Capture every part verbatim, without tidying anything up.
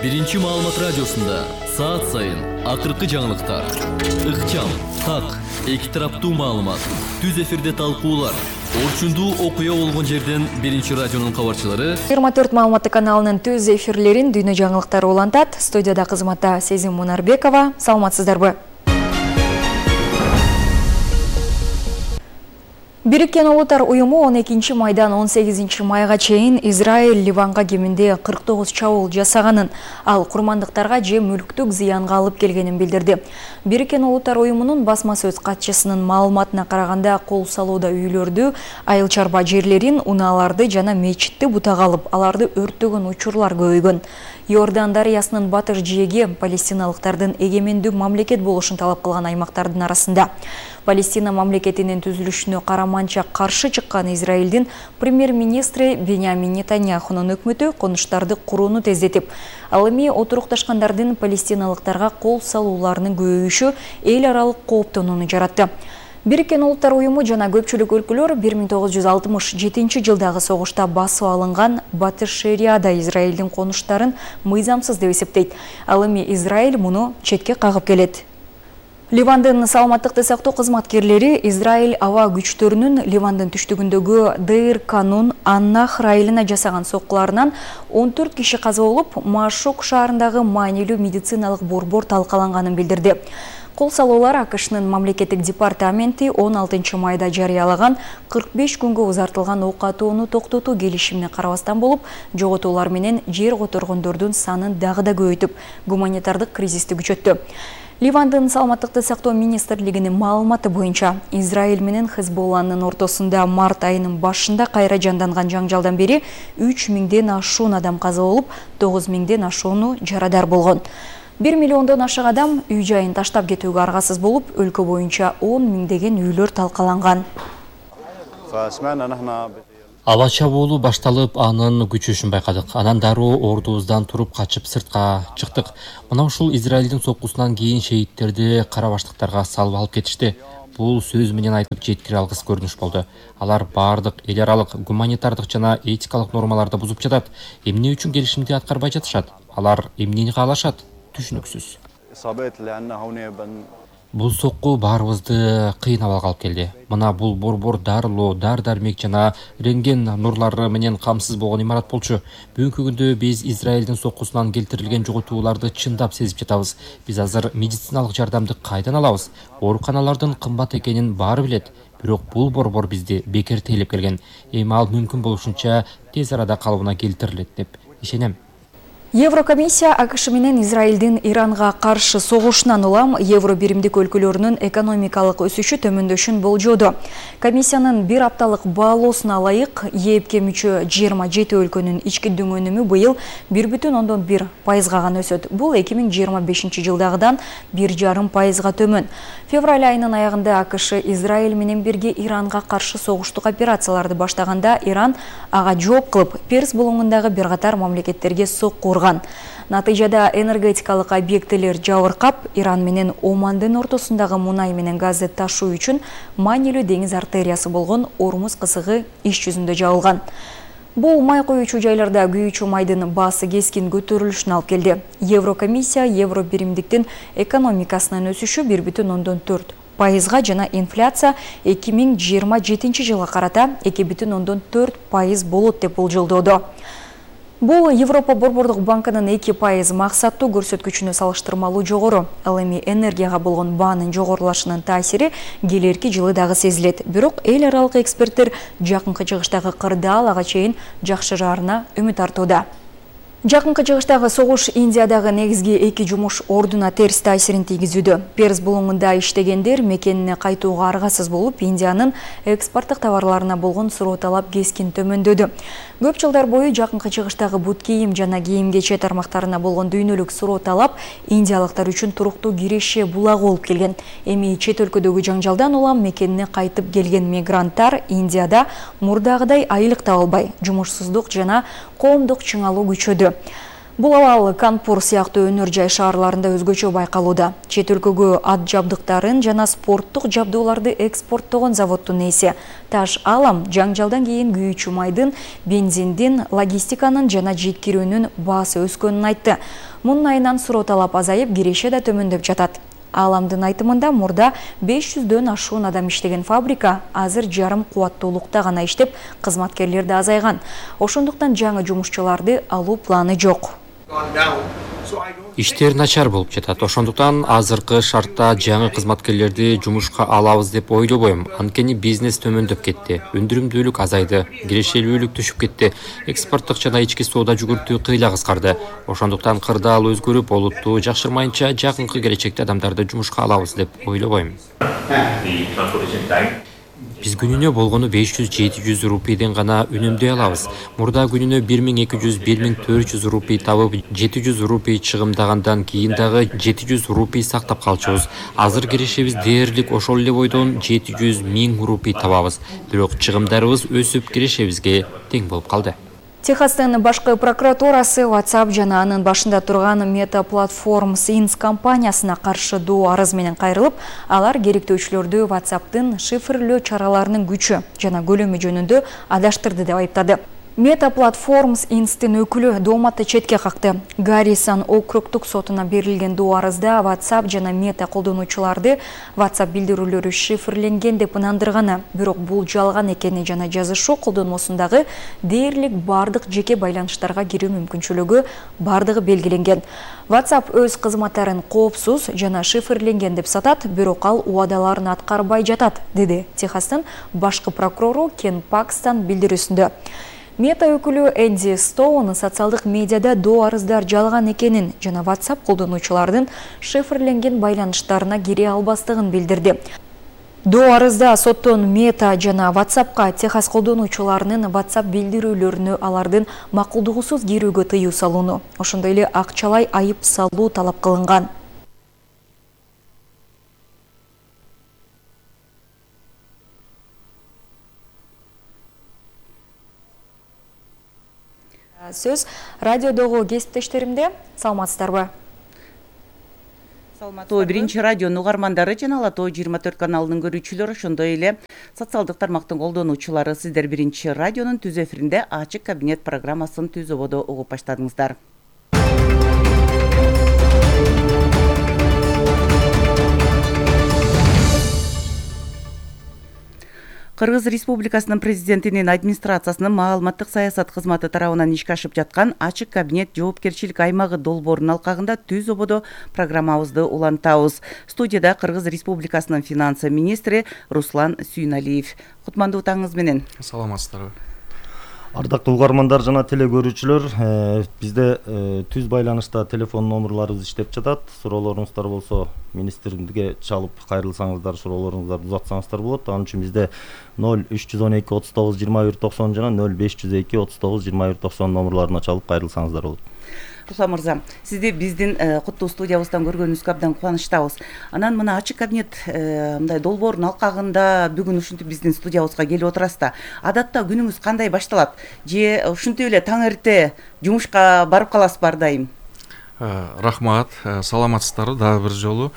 Биринчи маалымат радиосунда саат сайын акыркы жаңылыктар, ыкчам, так, эки тараптуу маалымат, түз эфирде талкуулар, орчундуу окуя болгон жерден Биринчи радионун кабарчылары жыйырма төрт маалыматтык каналынын түз эфирлерин дүйнө жаңылыктары улантат. Студияда кызматта Сезим Мунарбекова. Саламатсыздарбы? Бириккен Улуттар уюму он экинчи майдан он сегизинчи майга чейин Израиль Ливанга кеминде кырк тогуз чабуул жасаганын, ал курмандыктарга же мүлктүк зыянга алып келгенин билдирди. Бириккен Улуттар уюмунун басма сөз катчысынын маалыматына караганда, кол салууда үйлөрдү, айыл чарба жерлерин, унааларды жана мечитти бутага алып, аларды өрттөгөн учурлар көбөйгөн. Иордан дарыясынын батыш жээги палестиналыктардын эгемендүү мамлекет болушун талап кылган аймактардын арасында. Палестина мамлекетинин түзүлүшүнө караманча каршы чыккан Израилдин премьер-министри Беньямин Нетаньяхунун өкмөтү конуштарды курууну тездетип, ал эми отурукташкандардын палестиналыктарга кол салууларынын көбөйүшү эл аралык кооптонууну жаратты. Бириккен Улуттар уюму жана көпчүлүк өлкөлөр бир миң тогуз жүз алтымыш жетинчи жылдагы согушта басып алынган батыш шерияда Израилдин конуштарын мыйзамсыз деп эсептейт. Ал эми Израиль муну четке кагып келет. Ливандын саламаттыкты сактоо кызматкерлери Израиль аба күчтөрүнүн Ливандын түштүгүндөгү Дейр-Канун Аннахр айылына жасаган соккуларынан он төрт киши каза болуп, Машук шаарындагы маанилүү медициналык борбор талкаланганын билдирди. Кол салуулар АКШнын мамлекеттик департаменти он алтынчы майда жарыялаган кырк беш күнгө узартылган ок атууну токтотуу келишимине карабастан болуп, жоготуулар менен жер которгондордун санын дагы да көбөйтүп, гуманитардык кризисти күчөттү. Ливандын саламаттыкты сактоо министрлигинин маалыматы боюнча, Израиль менен Хезболланын ортосунда март айынын башында кайра жанданган жаңжалдан бери үч миңден ашуун адам каза болуп, тогуз миңден ашууну жарадар болгон. бир миллиондон ашык адам үй жайын таштап кетүүгө аргасыз болуп, өлкө боюнча он миңдеген үйлөр талкаланган. Аба чабуулу башталып, анын күчөшүн байкадык. Анан дароо ордубуздан туруп качып сыртка чыктык. Мына ушул Израилдин соккусунан кийин шеиттерди кара баштыктарга салып алып кетишти. Бул сөз менен айтып жеткире алгыс көрүнүш болду. Алар баардык эл аралык гуманитардык жана этикалык нормаларды бузуп жатат. Эмне үчүн келишимди аткарбай жатышат? Алар эмнени каалашат? Түшүнүксүз. Бул сокку баарыбызды кыйын абалга алып келди. Мына бул борбор дарылоо, дар-дармек жана рентген нурлары менен камсыз болгон имарат болчу. Бүгүнкү күндө биз Израилдин соккусунан келтирилген жоготууларды чындап сезип жатабыз. Биз азыр медициналык жардамды кайдан алабыз? Ооруканалардын кымбат экенин баары билет. Бирок бул борбор бизди бекер тейлеп келген. Эми ал мүмкүн болушунча тез арада калыбына келтирилет деп ишенем. Еврокомиссия АКШ менен Израилдин Иранга каршы согушунан улам евро биримдик өлкөлөрүнүн экономикалык өсүшү төмөндөшүн болжоодо. Комиссиянын бир апталык баалоосуна ылайык, ЕЭПке мүчө жыйырма жети өлкөнүн ички дүң өнүмү быйыл бир бүтүн ондон бир пайызга гана өсөт. Бул эки миң жыйырма бешинчи жылдагыдан бир жарым пайызга төмөн. Февраль айынын аягында АКШ Израиль менен бирге Иранга каршы согуштук операцияларды баштаганда, Иран ага жооп кылып, Перс булуңундагы бир катар мамлекеттерге сокку урган. Натыйжада энергетикалык объектилер жабыркап, Иран менен Омандын ортосундагы мунай менен газды ташуу үчүн маанилүү деңиз артериясы болгон Ормуз кысыгы иш жүзүндө жабылган. Бул май коюучу жайларда күйүүчү майдын баасы кескин көтөрүлүшүнө алып келди. Еврокомиссия евро биримдиктин экономикасынын өсүшү бир бүтүн ондон төрт пайызга жана инфляция эки миң жыйырма жетинчи жылга карата эки бүтүн ондон төрт пайыз болот деп болжолдоодо. Бул Европа борбордук банкынын эки пайыз максаттуу көрсөткүчүнө салыштырмалуу жогору. Ал эми энергияга болгон баанын жогорулашынын таасири келерки жылы дагы сезилет. Бирок эл аралык эксперттер жакынкы чыгыштагы кырдаал ага чейин жакшыраарына үмүт артууда. Жакынкы чыгыштагы согуш Индиядагы негизги эки жумуш ордуна терс таасирин тийгизүүдө. Перс булуңунда иштегендер мекенине кайтууга аргасыз болуп, Индиянын экспорттук товарларына болгон суроо талап кескин төмөндөдү. Көп жылдар бою жакынкы чыгыштагы бут кийим жана кийим-кече тармактарына болгон дүйнөлүк суроо талап индиялыктар үчүн туруктуу киреше булагы болуп келген. Эми чет өлкөдөгү жаңжалдан улам мекенине кайтып келген мигранттар Индияда мурдагыдай айлык таба албай, жумушсуздук жана коомдук чыңалуу күчөдү. Бул абал Канпур сыяктуу өнөр жай шаарларында өзгөчө байкалууда. Чет өлкөгө ат жабдыктарын жана спорттук жабдууларды экспорттогон заводдун ээси Таш Алам жаңжалдан кийин күйүүчү майдын, бензиндин, логистиканын жана жеткирүүнүн баасы өскөнүн айтты. Мунун айынан суроо талап азайып, киреше да төмөндөп жатат. Аламдын айтымында мурда беш жүздөн ашуун адам иштеген фабрика азыр жарым кубаттуулукта гана иштеп, кызматкерлер да азайган. Ошондуктан жаңы жумушчуларды алуу планы жок. Иштер начар болуп жатат. Ошондуктан азыркы шартта жаңы кызматкерлерди жумушка алабыз деп ойлобойм. Анткени бизнес төмөндөп кетти. Өндүрүмдүүлүк азайды, кирешелүүлүк түшүп кетти. Экспорттук жана ички соода жүгүртүү кыйла кыскарды. Ошондуктан кырдаал өзгөрүп, олутту жакшырмайынча жакынкы келечекте адамдарды жумушка алабыз деп ойлобойм. Биз күнүнө болгону беш жүз жети жүз рупийден гана үнөмдөй алабыз. Мурда күнүнө бир миң эки жүз бир миң төрт жүз рупий табып, жети жүз рупий чыгымдагандан кийин дагы жети жүз рупий сактап калчубуз. Азыр кирешебиз дээрлик ошол эле бойдон жети жүз миң рупий табабыз. Бирок чыгымдарыбыз өсүп кирешебизге тең болуп калды. Техастын башкы прокуратурасы WhatsApp жана анын башында турган Meta Platforms Inc компаниясына каршы доо арыз менен кайрылып, алар керектөөчүлөрдү WhatsApp'тын шифрлөө чараларынын күчү жана көлөмү жөнүндө адаштырды деп айыптады. Meta Platforms Inc-тин өкүлү дооматты четке какты. Гаррисон округдук сотуна берилген доо арызда WhatsApp жана Meta колдонуучуларды WhatsApp билдирүүлөрү шифрленген деп ынандырганы, бирок бул жалган экени жана жазышуу колдонмосундагы дээрлик бардык жеке байланыштарга кирүү мүмкүнчүлүгү бардыгы белгиленген. WhatsApp өз кызматтарын коопсуз жана шифрленген деп сатат, бирок ал убадаларын аткарбай жатат, деди Техастын башкы прокурору Кен Пакстан билдирүүсүндө. Мета өкүлү Энди Стоун социалдык медиада доо арыздар жалган экенин жана WhatsApp колдонуучулардын шифрленген байланыштарына кире албастыгын билдирди. Доо арызда соттон Мета жана WhatsApp'ка Техас колдонуучуларынын WhatsApp билдирүүлөрүнө алардын макулдугусуз кирүүгө тыюу салууну, ошондой эле акчалай айып салуу талап кылынган. Сөз радиодогу кесиптештеримде, саламатсыздарбы? Саламатсыздарбы. Биринчи радионун угармандары жана Ала Тоо жыйырма төрт каналынын көрүүчүлөрү, ошондой эле социалдык тармактын колдонуучулары, сиздер биринчи радионун түз эфиринде ачык кабинет программасын түз ободо угуп баштадыңыздар. Кыргыз Республикасынын президентинин администрациясынын маалыматтык саясат кызматы тарабынан ишке ашып жаткан ачык кабинет жоопкерчилик аймагы долбоорунун алкагында түз ободо программабызды улантабыз. Студияда Кыргыз Республикасынын финансы министри Руслан Сүйналиев. Кутмандуу таңыңыз менен. Саламатсыздарбы. Ардактуу угармандар жана теле көрүүчүлөр, бизде түз байланышта телефон номерларыбыз иштеп жатат. Суроолоруңуздар болсо министрликке чалып кайрылсаңыздар, суроолоруңуздарды узатсаңыздар болот. Анын үчүн бизде ноль үч жүз он эки отуз тогуз жыйырма бир токсон жана ноль беш жүз эки отуз тогуз жыйырма бир токсон номерларына чалып кайрылсаңыздар болот. Руслан мырза, сизди биздин куттуу студиябыздан көргөнүбүзгө абдан кубанычтабыз. Анан мына ачык кабинет мындай долбоордун алкагында бүгүн ушинтип биздин студиябызга келип отурасыз да. Адатта күнүңүз кандай башталат? Же ушинтип эле таң эрте жумушка барып каласызбы ар дайым? Рахмат, саламатсыздарбы дагы бир жолу.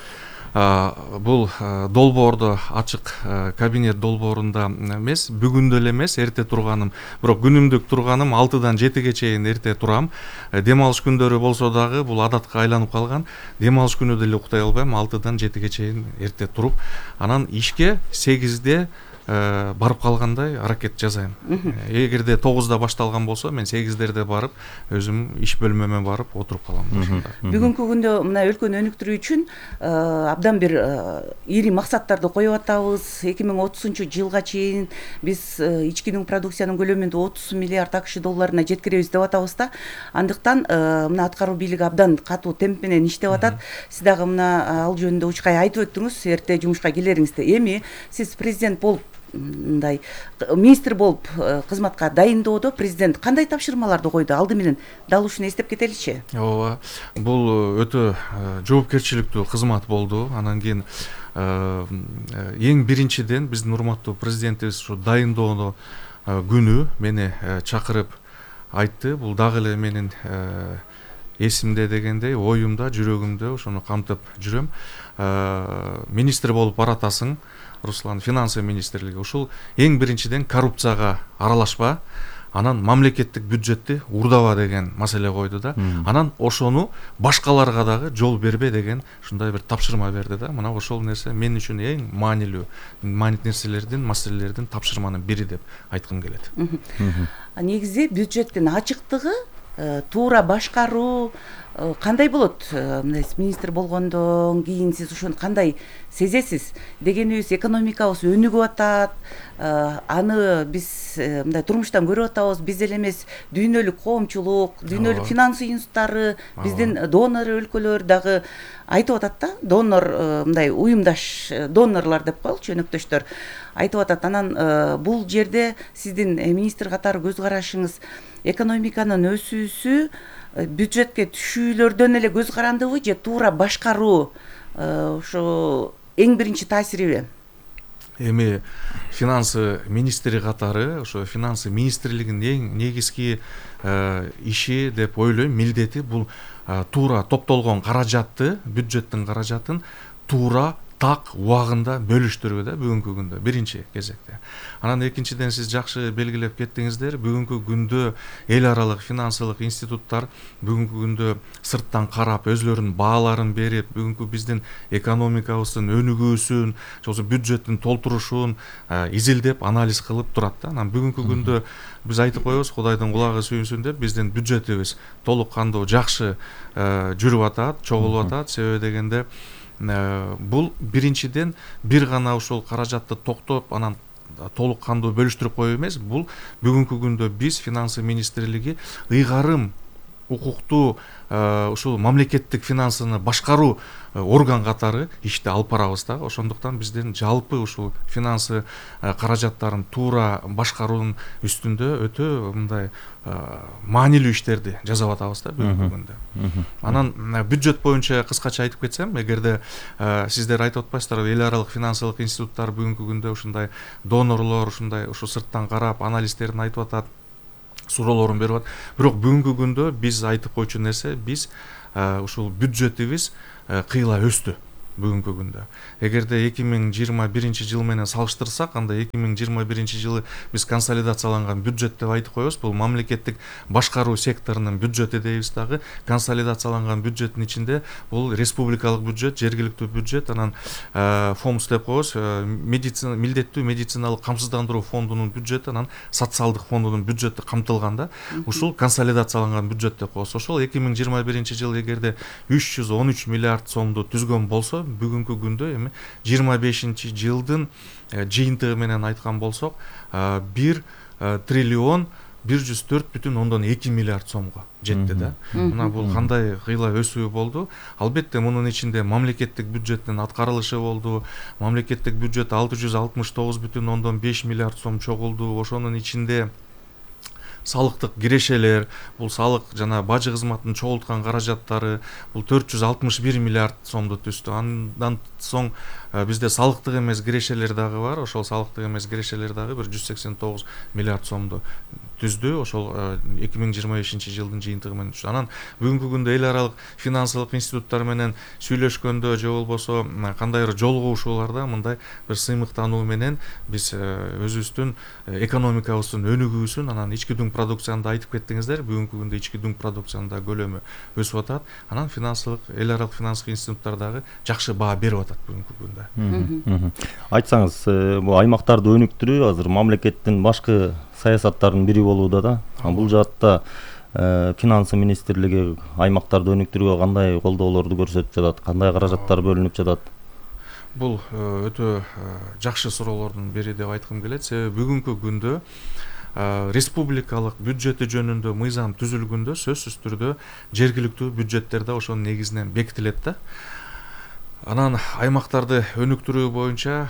Бул долбоордо ачык кабинет долбоорунда эмес, бүгүндө эле эмес, эрте турганым, бирок күнүмдүк турганым алтыдан жетиге чейин эрте турам. Дем алыш күндөрү болсо дагы бул адатка айланып калган. Дем алыш күнү деле уктай албайм, алтыдан жетиге чейин эрте туруп, анан ишке сегизде барып калгандай аракет жасайм. Эгерде тогузда башталган болсо, мен сегиздерде барып, өзүм иш бөлмөмө барып отуруп калам. Бүгүнкү күндө мына өлкөнү өнүктүрүү үчүн абдан бир ири максаттарды коюп атабыз. эки миң отузунчу жылга чейин биз ички продукциянын көлөмүн отуз миллиард акш долларына жеткиребиз деп атабыз да. Андыктан мына аткаруу бийлиги абдан катуу темп менен иштеп атат. Сиз дагы мына ал жөнүндө учкай айтып өттүңүз, эрте жумушка келериңизди. Эми сиз президент болуп, мындай министр болуп кызматка дайындоодо президент кандай тапшырмаларды койду? Алды менен дал ушуну эстеп кетеличи. Ооба, бул өтө жоопкерчиликтүү кызмат болду. Анан кийин эң биринчиден биздин урматтуу президентибиз ушу дайындоодо күнү мени чакырып айтты. Бул дагы эле менин эсимде дегендей, оюмда, жүрөгүмдө ошону камтып жүрөм. Министр болуп баратасың, Руслан, финансы министрлиги. Ушул эң биринчиден коррупцияга аралашпа, анан мамлекеттик бюджетти урдаба деген маселе койду да. Анан ошону башкаларга дагы жол бербе деген ушундай бир тапшырма берди да. Мына ошол нерсе мен үчүн эң маанилүү нерселердин, маселелердин тапшырманын бири деп айткым келет. Негизи бюджеттин ачыктыгы, туура башкаруу кандай болот? Мына министр болгондон кийин сиз ошону кандай сезесиз? Дегенибиз, экономикабыз өнүгүп атат, аны биз мындай турмуштан көрүп атабыз. Биз эле эмес, дүйнөлүк коомчулук, дүйнөлүк финанс уюмдары, биздин донор өлкөлөр дагы айтып атат да, донор мындай уюмдаш донорлор деп коелучу, өнөктөштөр айтып атат. Анан бул жерде сиздин министр катары көз карашыңыз, экономиканын өсүүсү бюджетке түшүүлөрдөн эле көз карандыбы же туура башкаруу ошо эң биринчи таасириби? Эми финансы министри катары ошо финансы министрлигинин эң негизги иши деп ойлойм, милдети бул туура топтолгон каражатты, бюджеттин каражатын туура так убагында бөлүштүрүү да бүгүнкү күндө биринчи кезекте. Анан экинчиден сиз жакшы белгилеп кеттиңиздер, бүгүнкү күндө эл аралык финансылык институттар бүгүнкү күндө сырттан карап өзлөрүнүн бааларын берип, бүгүнкү биздин экономикабыздын өнүгүүсүн, ошо бюджеттин толтурушун изилдеп, анализ кылып турат да. Анан бүгүнкү күндө биз айтып коебуз, Кудайдын кулагы сүйүнсүн деп, биздин бюджетибиз толук кандуу жакшы жүрүп атат, чогулуп атат. Себеби дегенде бул биринчиден бир гана ушул каражатты токтоп, анан толук кандуу бөлүштүрүп коюу эмес, бул бүгүнкү күндө биз финансы министрлиги ыйгарым укуктуу ушул мамлекеттик финансыны башкаруу орган катары ишти алып барабыз да. Ошондуктан биздин жалпы ушул финансы каражаттарын туура башкаруунун үстүндө өтө мындай маанилүү иштерди жасап атабыз да бүгүнкү күндө. Анан бюджет боюнча кыскача айтып кетсем, эгерде сиздер айтып атпайсыздарбы, эл аралык финансылык институттар бүгүнкү күндө ушундай донорлор, ушундай ушу сырттан карап анализдерин айтып атат, суроолорун берип атат. Бирок бүгүнкү күндө биз айтып койчу нерсе, биз ушул бюджетибиз кыйла өстү бүгүнкү күндө. Эгерде эки миң жыйырма биринчи жыл менен салыштырсак, анда эки миң жыйырма биринчи жылы биз консолидацияланган бюджет деп айтып коебуз. Бул мамлекеттик башкаруу секторунун бюджети дейбиз дагы. Консолидацияланган бюджеттин ичинде бул республикалык бюджет, жергиликтүү бюджет, анан фомс деп коебуз, медицина, милдеттүү медициналык камсыздандыруу фондунун бюджети, анан социалдык фондунун бюджети камтылган да. Ушул консолидацияланган бюджет деп коебуз. Ошол эки миң жыйырма биринчи жылы эгерде үч жүз он үч миллиард сомду түзгөн болсо, бүгүнкү күндө эми жыйырма бешинчи жылдын жыйынтыгы менен айткан болсок, бир триллион бир жүз төрт бүтүн ондон эки миллиард сомго жетти да. Мына бул кандай кыйла өсүү болду. Албетте мунун ичинде мамлекеттик бюджеттин аткарылышы болду. Мамлекеттик бюджет алты жүз алтымыш тогуз бүтүн ондон беш миллиард сом чогулду. Ошонун ичинде салыктык кирешелер, бул салык жана бажы кызматынын чогулткан каражаттары бул төрт жүз алтымыш бир миллиард сомду түздү. Андан соң бизде салыктык эмес кирешелер дагы бар. Ошол салыктык эмес кирешелер дагы бир жүз сексен тогуз миллиард сомду түздү. Ошол эки миң жыйырма бешинчи жылдын жыйынтыгы менен түздү. Анан бүгүнкү күндө эл аралык финансылык институттар менен сүйлөшкөндө же болбосо кандайдыр жолугушууларда мындай бир сыймыктануу менен биз өзүбүздүн экономикабыздын өнүгүүсүн, анан ички дүң продукцияны айтып кеттиңиздер. Бүгүнкү күндө ички дүң продукциянын да көлөмү өсүп атат. Анан финансылык, эл аралык финансылык институттар дагы жакшы баа берип атат бүгүнкү күндө. Айтсаңыз, бул аймактарды өнүктүрүү азыр мамлекеттин башкы саясаттарынын бири болууда да. Бул жаатта финансы министрлиги аймактарды өнүктүрүүгө кандай колдоолорду көрсөтүп жатат, кандай каражаттар бөлүнүп жатат? Бул өтө жакшы суроолордун бири деп айткым келет. Себеби бүгүнкү күндө республикалык бюджети жөнүндө мыйзам түзүлгөндө сөзсүз түрдө жергиликтүү бюджеттерде ошонун негизинен бекитилет да. Анан аймактарды өнүктүрүү боюнча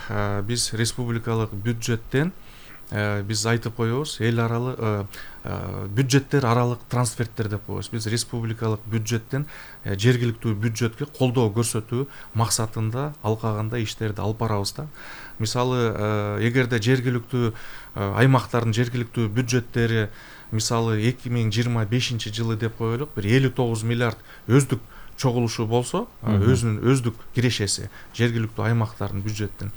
биз республикалык бюджеттен биз айтып коебуз, эл аралык бюджеттер аралык трансферттер деп коебуз. Биз республикалык бюджеттен жергиликтүү бюджетке колдоо көрсөтүү максатында алкагында иштерди алып барабыз да. Мисалы, эгерде жергиликтүү аймактардын жергиликтүү бюджеттери мисалы эки миң жыйырма бешинчи жылы деп коелук, бир элүү тогуз миллиард өздүк чогулушу болсо, өзүнүн өздүк кирешеси жергиликтүү аймактардын бюджеттин,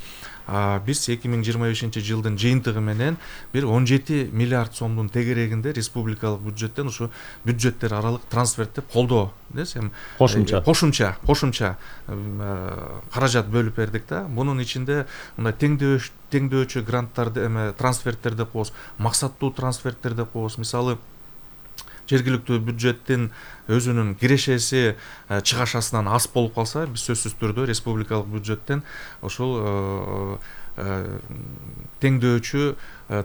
биз эки миң жыйырма бешинчи жылдын жыйынтыгы менен бир он жети миллиард сомдун тегерегинде республикалык бюджеттен ушу бюджеттер аралык трансферттеп колдоо десем кошумча кошумча кошумча каражат бөлүп бердик да. Мунун ичинде мындай теңдөөч теңдөөчү гранттарды эме трансферттер деп коебуз, максаттуу трансферттер деп коебуз. Мисалы жергиликтүү бюджеттин өзүнүн кирешеси чыгашасынан аз болуп калса, биз сөзсүз түрдө республикалык бюджеттен ошол теңдөөчү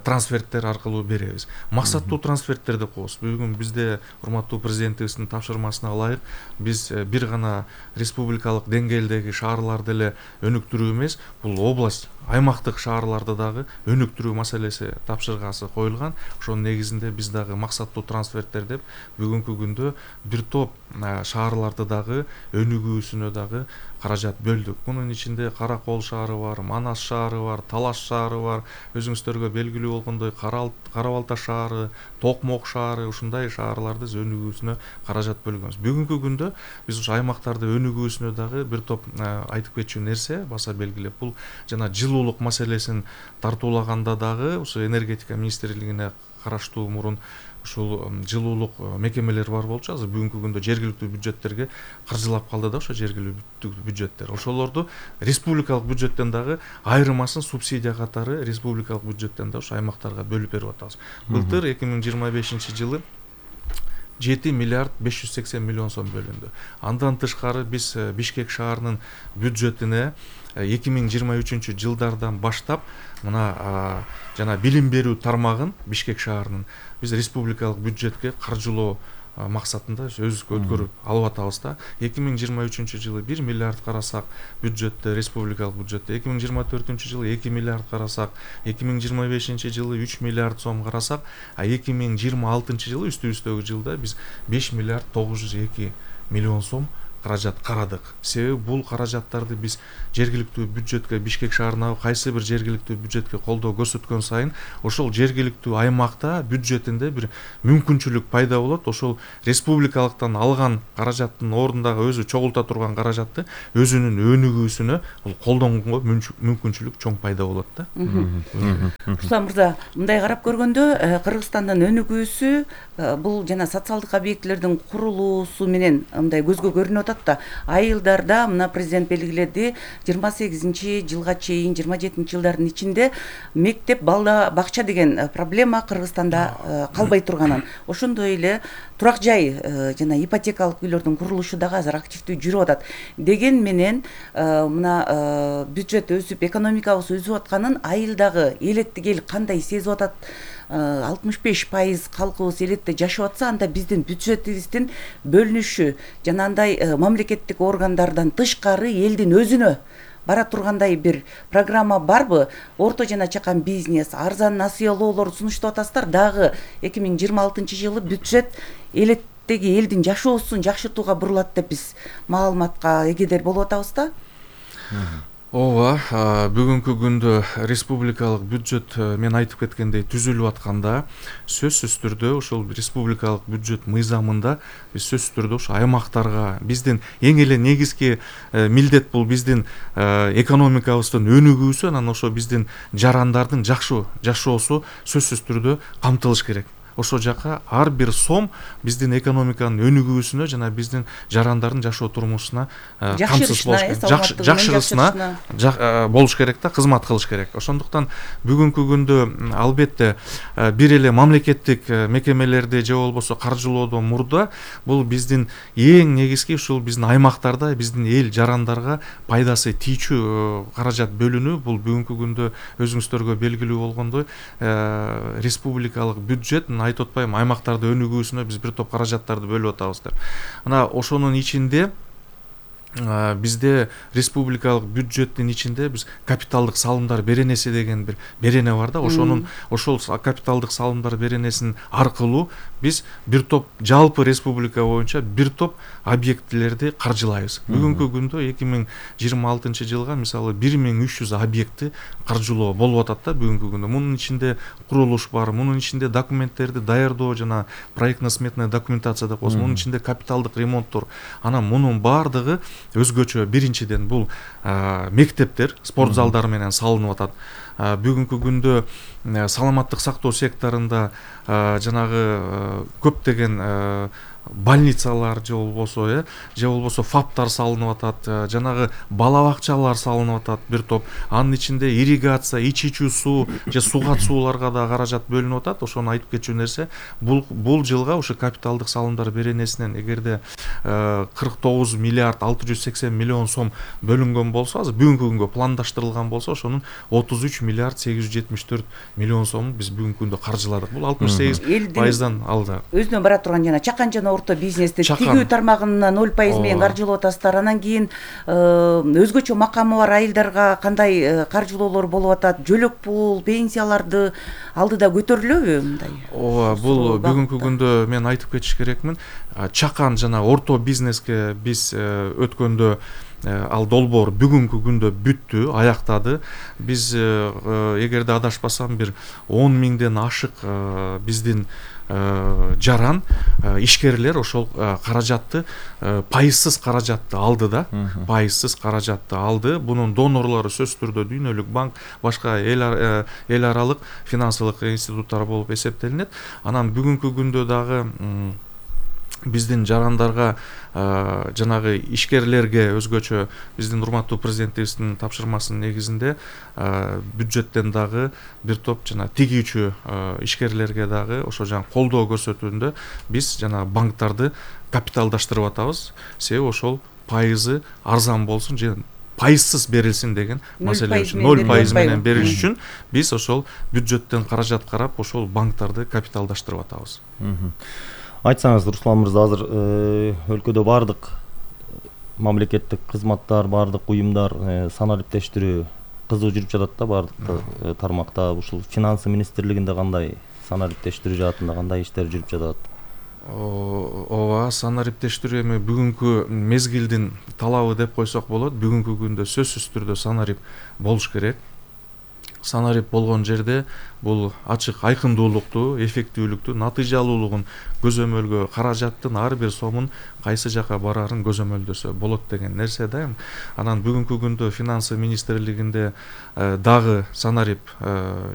трансферттер аркылуу беребиз. Максаттуу трансферттер деп коебуз. Бүгүн бизде урматтуу президентибиздин тапшырмасына ылайык биз бир гана республикалык деңгээлдеги шаарларды эле өнүктүрүү эмес, бул область, аймактык шаарларды дагы өнүктүрүү маселеси тапшыргасы коюлган. Ошонун негизинде биз дагы максаттуу трансферттер деп бүгүнкү күндө бир топ шаарларды дагы өнүгүүсүнө дагы каражат бөлдүк. Мунун ичинде Кара Кол шаары бар, Манас шаары бар, Талаш шаары бар, өзүңүздөргө белгилүү болгондой Кара Балта шаары, Токмок шаары, ушундай шаарларды өнүгүүсүнө каражат бөлгөнбүз. Бүгүнкү күндө биз ушу аймактарды өнүгүүсүнө дагы бир топ айтып кетчү нерсе баса белгилеп, бул жана жылуулук маселесин тартуулаганда дагы ушу энергетика министрлигине караштуу мурун ушул жылуулук мекемелер бар болчу. Азыр бүгүнкү күндө жергиликтүү бюджеттерге каржылап калды да ошо жергиликтүү бюджеттер. Ошолорду республикалык бюджеттен дагы айрымасын субсидия катары республикалык бюджеттен да ошо аймактарга бөлүп берип атабыз. Былтыр эки миң жыйырма бешинчи жылы жети миллиард беш жүз сексен миллион сом бөлүндү. Андан тышкары биз Бишкек шаарынын бюджетине эки миң жыйырма үчүнчү жылдардан баштап мына жана билим берүү тармагын Бишкек шаарынын биз республикалык бюджетке каржылоо максатында өзүбүзгө өткөрүп алып атабыз да. эки миң жыйырма үчүнчү жылы бир миллиард карасак бюджетте, республикалык бюджетте, эки миң жыйырма төртүнчү жылы эки миллиард карасак, эки миң жыйырма бешинчи жылы үч миллиард сом карасак, а эки миң жыйырма алтынчы жылы үстүбүздөгү жылда биз беш миллиард тогуз жүз эки миллион сом каражат карадык. Себеби бул каражаттарды биз жергиликтүү бюджетке, Бишкек шаарына кайсы бир жергиликтүү бюджетке колдоо көрсөткөн сайын ошол жергиликтүү аймакта бюджетинде бир мүмкүнчүлүк пайда болот. Ошол республикалыктан алган каражаттын ордундагы өзү чогулта турган каражатты өзүнүн өнүгүүсүнө бул колдонгонго мүмкүнчүлүк чоң пайда болот да. Руслан мырза, мындай карап көргөндө Кыргызстандын өнүгүүсү бул жана социалдык объектилердин курулуусу менен мындай көзгө көрүнүп атат да. Айылдарда мына президент белгиледи, жыйырма сегизинчи жылга чейин, жыйырма жетинчи жылдардын ичинде мектеп, балда бакча деген проблема Кыргызстанда калбай турганын. Ошондой эле турак жай жана ипотекалык үйлөрдүн курулушу дагы азыр активдүү жүрүп атат. Деген менен мына бюджет өсүп, экономикабыз өсүп атканын айылдагы элеттик эл кандай сезип атат? алтымыш беш пайыз калкыбыз элетте жашап атса, анда биздин бюджетибиздин бөлүнүшү жана андай мамлекеттик органдардан тышкары элдин өзүнө бара тургандай бир программа барбы? Орто жана чакан бизнес, арзан насыялоолор сунуштап атасыздар, дагы эки миң жыйырма алтынчы жылы бюджет элеттеги элдин жашоосун жакшыртууга бурулат деп биз маалыматка эгедер болуп атабыз да. Ооба, бүгүнкү күндө республикалык бюджет мен айтып кеткендей түзүлүп атканда, сөзсүз түрдө ошол республикалык бюджет мыйзамында биз сөзсүз түрдө ошо аймактарга биздин эң эле негизги милдет бул биздин экономикабыздын өнүгүүсү, анан ошо биздин жарандардын жакшы жашоосу сөзсүз түрдө камтылыш керек. Ошол жака ар бир сом биздин экономиканын өнүгүүсүнө жана биздин жарандардын жашоо турмушуна камсыз болуш керек, жакшырысына болуш керек да, кызмат кылыш керек. Ошондуктан бүгүнкү күндө албетте бир эле мамлекеттик мекемелерди же болбосо каржылоодон мурда бул биздин эң негизги ушул биздин аймактарда биздин эл жарандарга пайдасы тийчү каражат бөлүнүү. Бул бүгүнкү күндө өзүңүздөргө белгилүү болгондой республикалык бюджет айтып атпайм, аймактарды өнүгүүсүнө биз бир топ каражаттарды бөлүп атабыз деп. Мына ошонун ичинде бизде республикалык бюджеттин ичинде биз капиталдык салымдар беренеси деген бир берене бар да, ошонун ошол капиталдык салымдар беренесин аркылуу биз бир топ жалпы республика боюнча бир топ объектилерди каржылайбыз. Бүгүнкү күндө эки миң жыйырма алтынчы жылга мисалы бир миң үч жүз объектти каржылоо болуп атат да бүгүнкү күндө. Мунун ичинде курулуш бар, мунун ичинде документтерди даярдоо жана проектно сметная документация деп коебуз, мунун ичинде капиталдык ремонттор. Анан мунун баардыгы өзгөчө биринчиден бул мектептер, спорт залдары менен салынып атат. Бүгүнкү күндө саламаттык сактоо секторунда жанагы көптөгөн больницалар же болбосо э же болбосо фаптар салынып атат, жанагы бала бакчалар салынып атат бир топ. Анын ичинде ирригация, ич ичүү суу же сугат сууларга да каражат бөлүнүп атат. Ошону айтып кетчү нерсе, бул бул жылга ушу капиталдык салымдар беренесинен эгерде кырк тогуз миллиард алты жүз сексен миллион сом бөлүнгөн болсо, азыр бүгүнкү күнгө пландаштырылган болсо, ошонун отуз үч миллиард сегиз жүз жетимиш төрт миллион сомун биз бүгүнкү күндө каржыладык. Бул алтымыш сегиз пайыздан алды. Өзүнө бара турган жана чакан жана орто бизнести тигүү тармагына ноль пайыз менен каржылап атасыздар. Анан кийин өзгөчө макамы бар айылдарга кандай каржылоолор болуп атат? Жөлөк пул, пенсияларды алдыда көтөрүлөбү мындай? Ооба, бул бүгүнкү күндө мен айтып кетиш керекмин. Чакан жана орто бизнеске биз өткөндө ал долбоор бүгүнкү күндө бүттү, аяктады. Биз эгерде адашпасам бир он миңден ашык биздин жаран ишкерлер ошол каражатты пайызсыз каражатты алды да, пайызсыз каражатты алды. Бунун донорлору сөзсүз түрдө Дүйнөлүк банк, башка эл аралык финансылык институттар болуп эсептелинет. Анан бүгүнкү күндө дагы биздин жарандарга жанагы ишкерлерге өзгөчө биздин урматтуу президентибиздин тапшырмасынын негизинде бюджеттен дагы бир топ жана тигүүчү ишкерлерге дагы ошо жана колдоо көрсөтүүндө биз жана банктарды капиталдаштырып атабыз. Себеби ошол пайызы арзан болсун же пайызсыз берилсин деген маселе үчүн, ноль пайыз менен бериш үчүн биз ошол бюджеттен каражат карап ошол банктарды капиталдаштырып атабыз. Айтсаңыз, Руслан мырза, азыр өлкөдө бардык мамлекеттик кызматтар, бардык уюмдар санариптештирүү кызуу жүрүп жатат да, бардык тармакта. Ушул финансы министрлигинде кандай санариптештирүү жаатында кандай иштер жүрүп жатат? Ооба, санариптештирүү эми бүгүнкү мезгилдин талабы деп койсок болот. Бүгүнкү күндө сөзсүз түрдө санарип болуш керек. Санарип болгон жерде бул ачык айкындуулукту, эффектүүлүктү, натыйжалуулугун көзөмөлгө, каражаттын ар бир сомун кайсы жака барарын көзөмөлдөсө болот деген нерсе да. Анан бүгүнкү күндө финансы министрлигинде дагы санарип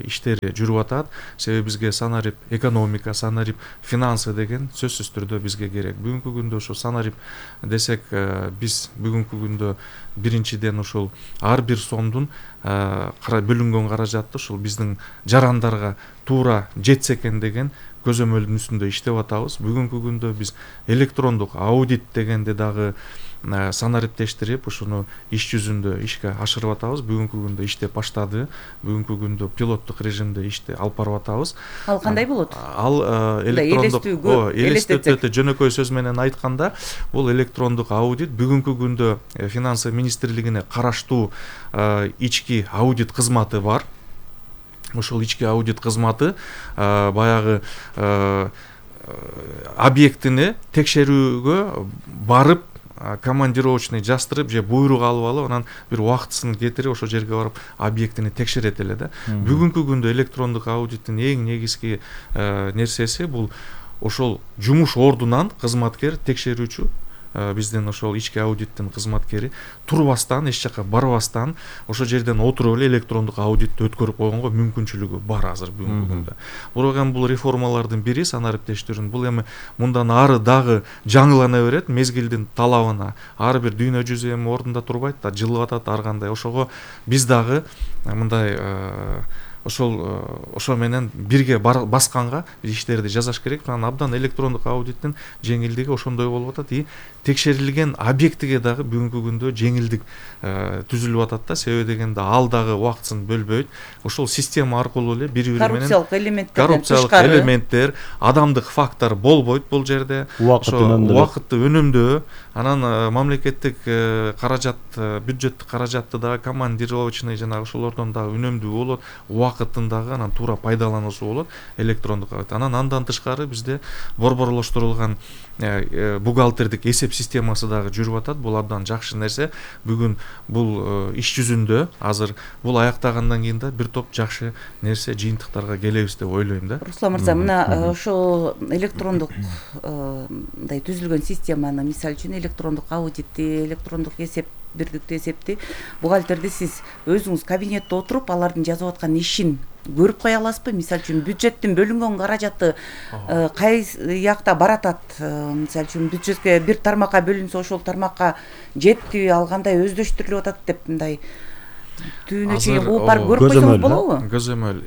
иштери жүрүп атат. Себеби бизге санарип экономика, санарип финансы деген сөзсүз түрдө бизге керек. Бүгүнкү күндө ошо санарип десек, биз бүгүнкү күндө биринчиден ушул ар бир сомдун бөлүнгөн каражатты ушул биздин жарандарга туура жетсе экен деген көзөмөлдүн үстүндө иштеп атабыз. Бүгүнкү күндө биз электрондук аудит дегенди дагы санариптештирип, ушуну иш жүзүндө ишке ашырып атабыз. Бүгүнкү күндө иштеп баштады. Бүгүнкү күндө пилоттук режимде ишти алып барып атабыз. Ал кандай болот? Ал электрондук, элестетүүгө жөнөкөй сөз менен айтканда, бул электрондук аудит бүгүнкү күндө финансы министрлигине караштуу ички аудит кызматы бар. Ошол ички аудит кызматы баягы объектини текшерүүгө барып, командировочный жастырып же буйрук алып алып, анан бир убактысын кетирип ошол жерге барып объектини текшерет эле да. Бүгүнкү күндө электрондук аудиттин эң негизги нерсеси бул ошол жумуш ордунан кызматкер, текшерүүчү, биздин ошол ички аудиттин кызматкери турбастан, эч жака барбастан ошол жерден отуруп эле электрондук аудитти өткөрүп койгонго мүмкүнчүлүгү бар азыр бүгүнкү күндө. Бирок эми бул реформалардын бири санариптештирүүнүн, бул эми мындан ары дагы жаңылана берет мезгилдин талабына. Ар бир дүйнө жүзү эми ордунда турбайт да, жылып атат ар кандай. Ошого биз дагы мындай ошол ошо менен бирге басканга иштерди жасаш керек. Анан абдан электрондук аудиттин жеңилдиги ошондой болуп атат и текшерилген объектиге дагы бүгүнкү күндө жеңилдик түзүлүп атат да. Себеби дегенде ал дагы убактысын бөлбөйт. Ошол система аркылуу эле бири бири менен коррупциялык элементтерден коррупциялык элементтер, адамдык фактор болбойт бул жерде. Убакытты үнөмдөө, анан мамлекеттик каражат, бюджеттик каражатты дагы командировочный жанагы ошолордон дагы үнөмдүү болот, убакытын дагы анан туура пайдалануусу болот электрондук. Анан андан тышкары бизде борборлоштурулган бухгалтердик эсеп системасы дагы жүрүп атат. Бул абдан жакшы нерсе. Бүгүн бул иш жүзүндө азыр бул аяктагандан кийин да бир топ жакшы нерсе, жыйынтыктарга келебиз деп ойлойм да. Руслан мырза, мына ошол электрондук мындай түзүлгөн системаны, мисалы үчүн электрондук аудитти, электрондук эсеп, бирдиктүү эсепти, бухгалтерди сиз өзүңүз кабинетте отуруп алардын жазып аткан ишин көрүп кое аласызбы? Мисалы үчүн бюджеттин бөлүнгөн каражаты кайсы жакта баратат? Мисалы үчүн бюджетке бир тармакка бөлүнсө ошол тармакка жетпи, ал кандай өздөштүрүлүп атат деп мындай түбүнө чейин угуп барып көрүп койсоңуз болобу? Көзөмөл.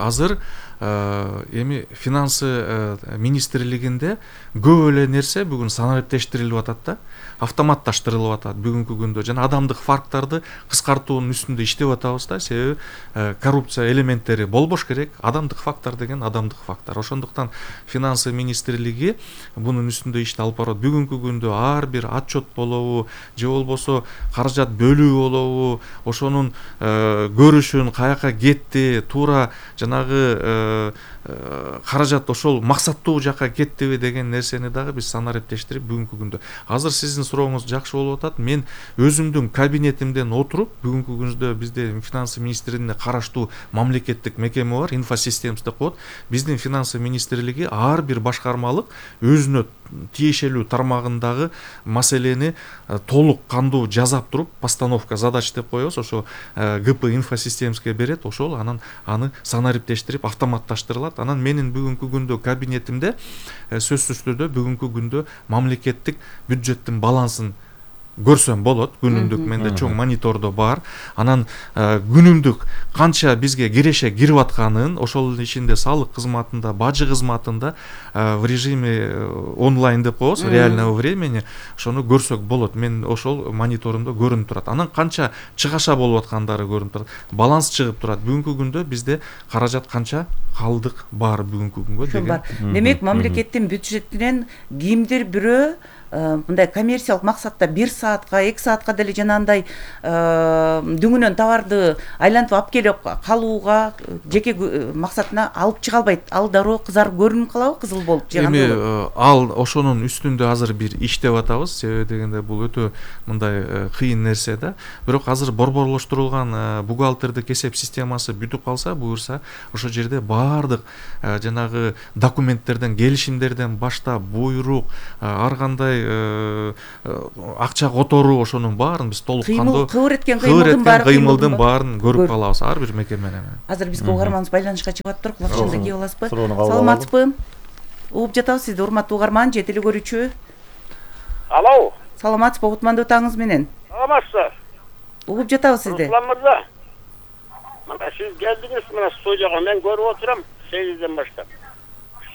Азыр эми финансы министрлигинде көп эле нерсе бүгүн санариптештирилип атат да, автоматташтырылып атат бүгүнкү күндө. Жана адамдык факторду кыскартуунун үстүндө иштеп атабыз да. Себеби коррупция элементтери болбош керек. Адамдык фактор деген адамдык фактор. Ошондуктан финансы министрлиги бунун үстүндө ишти алып барат. Бүгүнкү күндө ар бир отчет болобу, же болбосо каражат бөлүү болобу, ошонун көрүшүн, каяка кетти, туура жанагы каражат ошол максаттуу жакка кеттиби деген нерсени дагы биз санариптештирип бүгүнкү күндө. Азыр сиздин сурооңуз жакшы болуп атат. Мен өзүмдүн кабинетимден отуруп бүгүнкү күндө бизде финансы министрлигине караштуу мамлекеттик мекеме бар, инфосистемасы деп коет. Биздин финансы министрлиги ар бир башкармалык өзүнө тиешелүү тармагындагы маселени толук кандуу жазап туруп, постановка задач деп коебуз, ошо ГП инфосистемасына берет, ошол анан аны санариптештирип автоматташтырылат. Анан менин бүгүнкү күндө кабинетимде сөзсүз түрдө бүгүнкү күндө мамлекеттик бюджеттин балансын көрсөм болот. Күнүмдүк менде чоң монитордо бар. Анан күнүмдүк канча бизге киреше кирип атканын, ошол ичинде салык кызматында, бажы кызматында в режиме онлайн деп коебуз, реального времени, ошону көрсөк болот. Мен ошол мониторумда көрүнүп турат. Анан канча чыгаша болуп аткандары көрүнүп турат. Баланс чыгып турат. Бүгүнкү күндө бизде каражат канча калдык бар бүгүнкү күнгө деген. Демек, мамлекеттин бюджетинен кимдир бирөө мындай коммерциялык максатта бир саатка, эки саатка деле жанагындай дүңүнөн товарды айлантып алып келип калууга, жеке максатына алып чыга албайт. Ал дароо кызарып көрүнүп калабы, кызыл болуп жагандай болот. Эми ал ошонун үстүндө азыр бир иштеп атабыз. Себеби дегенде бул өтө мындай кыйын нерсе да. Бирок азыр борборлоштурулган бухгалтердик эсеп системасы бүтүп калса, буюрса, ошол жерде баардык жанагы документтерден, келишимдерден баштап, буйрук, ар кандай акча которуу, ошонун баарын биз толук кандуу кыбыр эткен кыймылдын баарын көрүп калабыз ар бир мекеменен. Азыр бизге угарманыбыз байланышка чыгып атыптыр. Кулакчында кийип аласызбы? Саламатсызбы? Угуп жатабыз сизди, урматтуу угарман, же телекөрүүчү. Алло. Саламатсызбы, кутмандуу таңыңыз менен? Саламатсыз. Угуп жатабыз сизди. Руслан мырза. Мына сиз келдиңиз мына студияга, мен көрүп отурам сегизден баштап.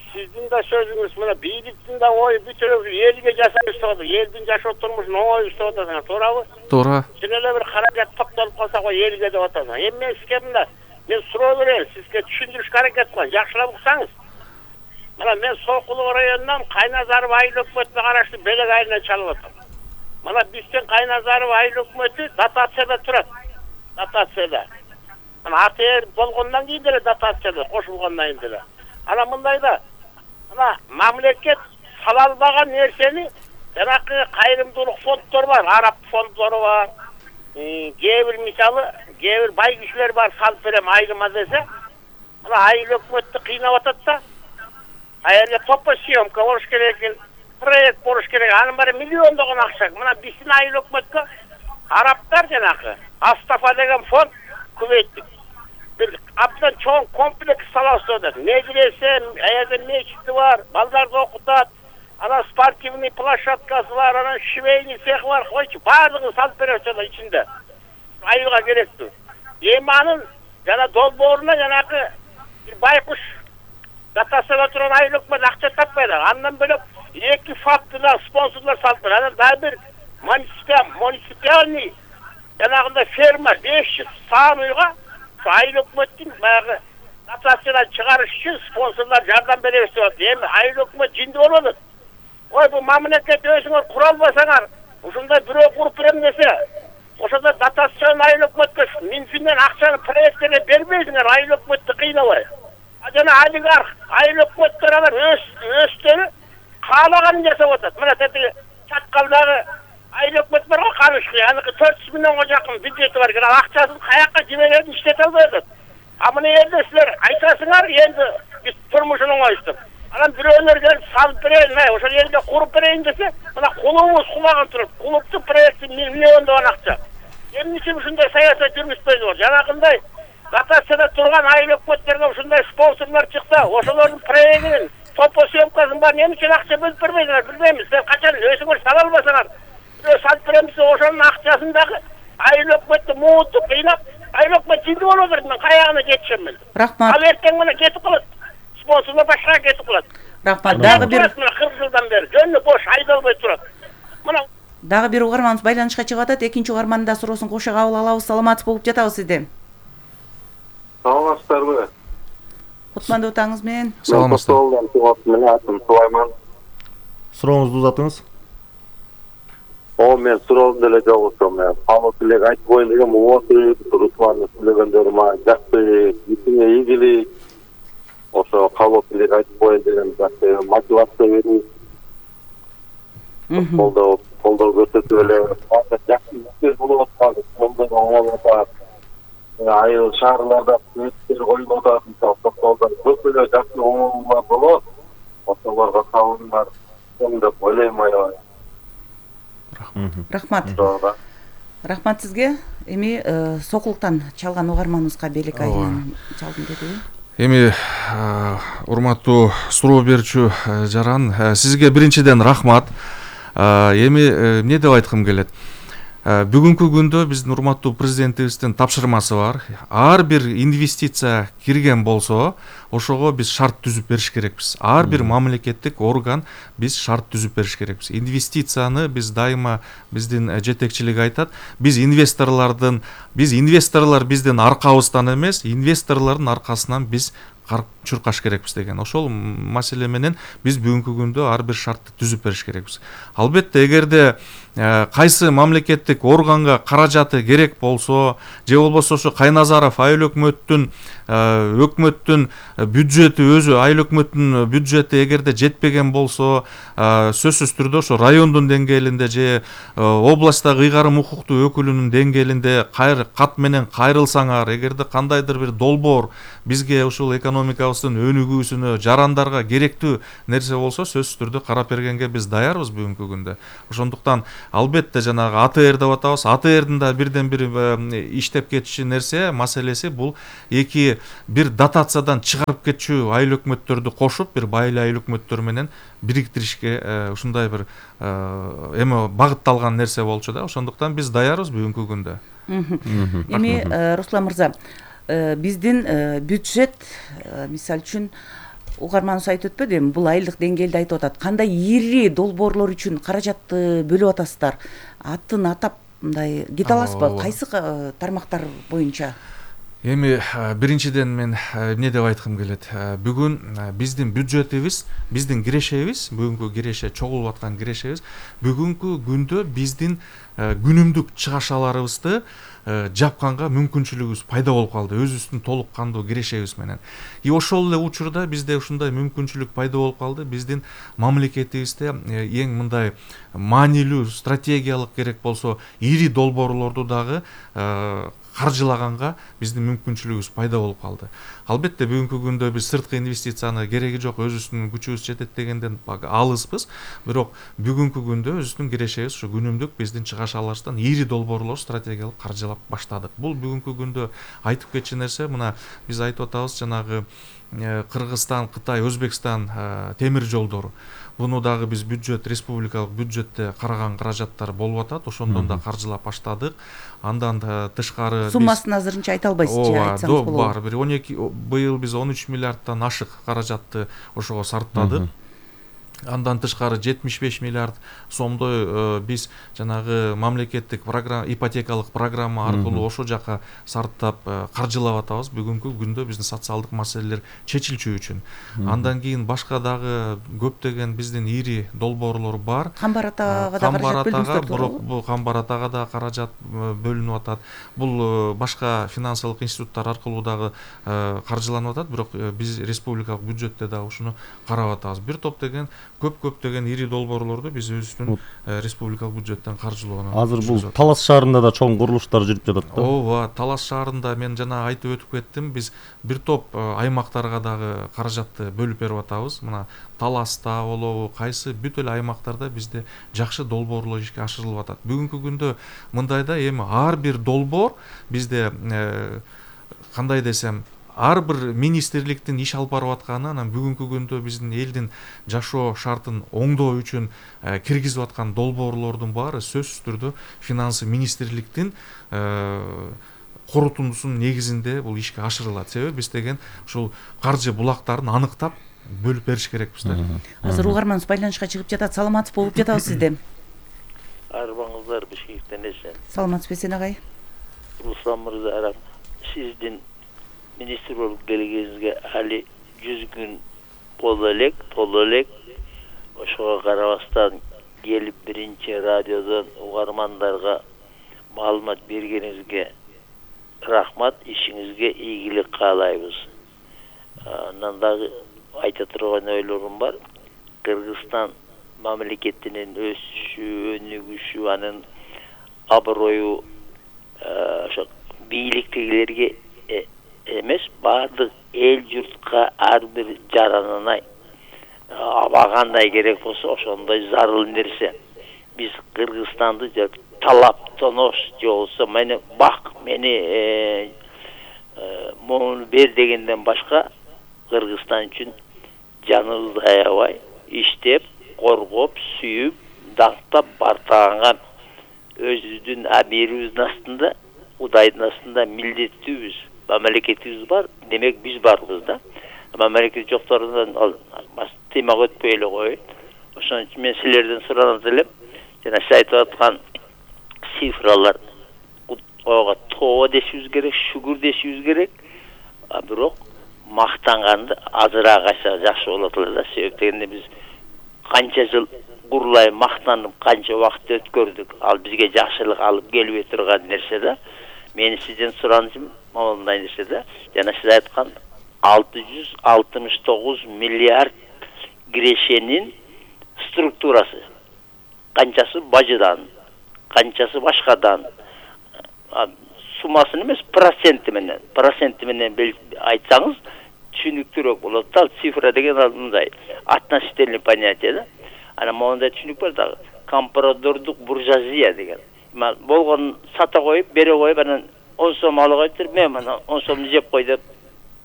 Сиздин да сөзүңүз мына бийликтин да ою бүтүрөп элге жасап атат. Элдин жашоо турмушун оңой иштеп атасың, туурабы? Туура. Чын эле бир каражат токтолуп калса ой элге деп атасың. Эми мен сизге мына мен суроо берейин, сизге түшүндүрүшкө аракет кылам, жакшылап уксаңыз. Мына мен Сокулук районунан Кайназаров айыл өкмөтүнө караштуу Белек айылынан чалып атам. Мына биздин Кайназаров айыл өкмөтү дотацияда турат. Дотацияда. Мына АТР болгондон кийин деле дотацияда кошулгондон кийин деле. Анан мындай да мына мамлекет сала албаган нерсени жанакы кайрымдуулук фонддор бар, араб фонддору бар. Кээ бир мисалы, кээ бир бай кишилер бар, салып берем айылыма десе, мына айыл өкмөттү кыйнап атат да. Аерге топо съемка болуш керек, проект болуш керек, анын баары миллиондогон акча. Мына биздин айыл өкмөткө арабтар жанакы Астафа деген фонд Кувейттик бир абдан чоң комплекс саласы да. Медресе, аерде мечити бар, балдарды окутат, анан спортивный площадкасы бар, анан швейный цех бар, койчу баардыгын салып берет да ичинде. Айылга керектүү. Эми анын жана долбооруна жанагы бир байкуш дотацияда турган айыл өкмөт акча таппайт. Андан бөлөк эки фактыда спонсорлор салыптыр. Анан дагы бир муниципальный жанагындай ферма беш жүз саан уйга айыл өкмөттүн баягы дотациядан чыгарыш үчүн спонсорлор жардам беребиз деп атат. Эми айыл өкмөт жинди болуп атат. Ой, бу мамлекет өзүңөр кура албасаңар, ушундай бирөө куруп берем десе, ошондо дотацияны айыл өкмөткө Минфинден акчаны проекттерге бербейсиңер, айыл өкмөттү кыйнабай. А жана олигарх, айыл өкмөттөр алар өз өздөрү каалаганын жасап атат. Мына тетиги чаткалдагы айыл өкмөт бар го, Камышкы, аныкы төрт жүз миллионго жакын бюджети бар, ал акчасын каякка жиберерин иштете албай атат. А мына жерде силер айтасыңар, энди биз турмушун оңоюштук. Анан бирөөлөр келип салып берейин, мына ошол жерде куруп берейин десе, мына кулубуз кулаган турат. Кулуптун проекти миллиондогон акча. Эмне үчүн ушундай саясат жүргүзбөйдү? Жанагындай дотацияда турган айыл өкмөттөргө ушундай спонсорлор чыкса, ошолордун проектинин топосъемкасын бар эмне үчүн акча бөлүп бербейсиңер, билбеймиз. Сен качан өзүңөр сала албасаңар, бирөө салып берем десе, ошонун акчасын дагы айыл өкмөттү муутуп кыйнап, айыл өкмөт жинди болуп атат. Мен каягына жетишем мен. Рахмат. Ал эртең менен кетип калат. Спонсорлор башка кетип калат. Рахмат. Дагы бир кырк жылдан бери жөнү бош айдалбай турат. Мына дагы бир угарманыбыз байланышка чыгып атат. Экинчи угармандын да суроосун кошо кабыл алабыз. Саламатсыз болуп жатабыз сизден. Саламатсыздарбы? Кутмандуу таңыңыз менен. Саламатсыздар. Менин атым Сулайман. Сурооңузду узатыңыз. О, мен суроом деле жок ошо. Мен халык элек айтып коеюн дегем, болду. Русланды сүйлөгөндөр ма жакшы, исине ийгилик. Ошо халык элек айтып коеюн деген жакшы мотивация берип. Колдоо, колдоо көрсөтүп эле жакшы иштер болуп атат. Колдоо оңолуп атат. Айыл шаарларда өттөр коюлуп атат. Токтолдо көп эле жакшы оңолуулар болот. Ошолорго салымдар деп ойлойм аябай. Рахмат. Рахмат сизге. Эми Сокулуктан чалган угарманыбызга белек айынан чалдым дедиби? Эми урматтуу суроо берүүчү Жаран, сизге биринчиден рахмат. Эми эмне деп айткым келет? Бүгүнкү күндө биздин урматтуу президентибиздин тапшырмасы бар. Ар бир инвестиция кирген болсо, ошого биз шарт түзүп бериш керекпиз. Ар бир мамлекеттик орган биз шарт түзүп бериш керекпиз. Инвестицияны биз дайыма биздин жетекчилик айтат. Биз инвесторлордун, биз инвесторлор биздин аркабыздан эмес, инвесторлордун аркасынан биз карып чуркаш керекпиз деген. Ошол маселе менен биз бүгүнкү күндө ар бир шартты түзүп бериш керекпиз. Албетте, эгерде кайсы мамлекеттик органга каражаты керек болсо, же болбосо ошо Кайназаров айыл өкмөттүн өкмөттүн бюджети өзү айыл өкмөттүн бюджети эгерде жетпеген болсо, сөзсүз түрдө ошо райондун деңгээлинде же областтагы ыйгарым укуктуу өкүлүнүн деңгээлинде кайр кат менен кайрылсаңар, эгерде кандайдыр бир долбоор бизге ушул экономикабыздын өнүгүүсүнө, жарандарга керектүү нерсе болсо, сөзсүз түрдө карап бергенге биз даярбыз бүгүнкү күндө. Ошондуктан албетте жанагы А Т Р деп атабыз. А Т Рдин да бирден бир иштеп кетиши нерсе, маселеси бул эки бир дотациядан чыгарып кетчү айыл өкмөттөрдү кошуп, бир байыл айыл өкмөттөр менен бириктиришке ушундай бир эми багытталган нерсе болчу да. Ошондуктан биз даярбыз бүгүнкү күндө. Эми Руслан мырза, биздин бюджет, мисалы үчүн угарманыбыз айтып өтпөдү, эми бул айылдык деңгээлде айтып атат. Кандай ири долбоорлор үчүн каражатты бөлүп атасыздар? Атын атап мындай кете аласызбы? Кайсы тармактар боюнча? Эми биринчиден мен эмне деп айткым келет? Бүгүн биздин бюджетибиз, биздин кирешебиз, бүгүнкү киреше, чогулуп аткан кирешебиз, бүгүнкү күндө биздин күнүмдүк чыгашаларыбызды жапканга мүмкүнчүлүгүбүз пайда болуп калды, өзүбүздүн толук кандуу кирешебиз менен. И ошол эле учурда бизде ушундай мүмкүнчүлүк пайда болуп калды. Биздин мамлекетибизде эң мындай маанилүү стратегиялык керек болсо ири долбоорлорду дагы каржылаганга биздин мүмкүнчүлүгүбүз пайда болуп калды. Албетте бүгүнкү күндө биз сырткы инвестицияны кереги жок, өзүбүздүн күчүбүз жетет дегенден алыспыз. Бирок бүгүнкү күндө өзүбүздүн кирешебиз ушу күнүмдүк биздин чыгашаларыбыздан ири долбоорлор стратегиялык каржылап баштадык. Бул бүгүнкү күндө айтып кетчү нерсе, мына биз айтып атабыз, жанагы Кыргызстан, Кытай, Өзбекстан темир жолдору. Буну дагы биз бюджет, республикалык бюджетте караган каражаттар болуп атат. Ошондон да каржылап баштадык. Андан тышкары суммасын азырынча айта албайсыз же, айтсаңыз болобу? Бар, бир он эки быйыл биз он үч миллиардтан ашык каражатты ошого сарптадык. Андан тышкары жетимиш беш миллиард сомдой биз жанагы мамлекеттик программа, ипотекалык программа аркылуу ошол жака сарптап каржылап атабыз. Бүгүнкү күндө биздин социалдык маселелер чечилчү үчүн. Андан кийин башка дагы көптөгөн биздин ири долбоорлор бар. Камбар атага да каражат бөлдүңүздөр, бирок бул Камбар атага да каражат бөлүнүп атат. Бул башка финансылык институттар аркылуу дагы каржыланып атат, бирок биз республикалык бюджетте дагы ушуну карап атабыз. Бир топ деген көп-көп деген ири долбоорлорду биз өзүбүздүн республикалык бюджеттен каржылоону. Азыр бул Талас шаарында да чоң курулуштар жүрүп жатат да. Ооба, Талас шаарында мен жана айтып өтүп кеттим, биз бир топ аймактарга дагы каражатты бөлүп берип атабыз. Мына Таласта болобу, кайсы бүт эле аймактарда бизде жакшы долбоорлор ишке ашырылып атат. Бүгүнкү күндө мындайда эми ар бир долбоор бизде кандай десем, ар бир министрликтин иш алып барып атканы, анан бүгүнкү күндө биздин элдин жашоо шартын оңдоо үчүн киргизип аткан долбоорлордун баары сөзсүз түрдө финансы министрликтин корутундусунун негизинде бул ишке ашырылат. Себеби биз деген ушул каржы булактарын аныктап бөлүп бериш керекпиз да. Азыр угарманыбыз байланышка чыгып жатат. Саламатсыз болуп жатабыз сизде. Арбаңыздар Бишкектен эсен. Саламатсыз Эсен агай. Руслан мырза, сиздин министр болуп келгениңизге али жүз күн боло элек, толо элек. Ошого карабастан келип биринчи радиодон угармандарга маалымат бергениңизге рахмат, ишиңизге ийгилик каалайбыз. Андан дагы айта турган ойлорум бар. Кыргызстан мамлекетинин өсүшү, өнүгүшү, анын аброю ошо бийликтегилерге эмес, баардык эл журтка ар бир жаранына абагандай керек болсо ошондой зарыл нерсе. Биз Кыргызстанды талап тонош же болсо мени бак, мени моуну бер дегенден башка Кыргызстан үчүн жаныбызды аябай иштеп, коргоп, сүйүп, дактап, бартаганган өзүбүздүн амирибиздин астында, Кудайдын астында милдеттүүбүз. Мамлекетибиз бар, демек биз барбыз да. Мамлекет жокторунан ал тыймак өтпөй эле коет. Ошон үчүн мен силерден суранат элем, жана сиз айтып аткан цифралар ого тоо дешибиз керек, шүгүр дешибиз керек. А бирок мактанганды азыраак айтса жакшы болот эле да. Себеп дегенде биз канча жыл курулай мактанып, канча убакыт өткөрдүк. Ал бизге жакшылык алып келбей турган нерсе да. Мени сизден суранышым мындай нерсе да. Жана сиз айткан алты жүз алтымыш тогуз миллиард кирешенин структурасы. Канчасы бажыдан, канчасы башкадан. Суммасын эмес, проценти менен, проценти менен айтсаңыз түшүнүктүүрөөк болот да. Цифра деген мындай относительный понятие да. Анан мондай түшүнүк бар дагы. Компрадордук буржуазия деген. Болгон сата коюп, бере коюп, анан он сом ала коюптур, мен мына он сомду жеп кой деп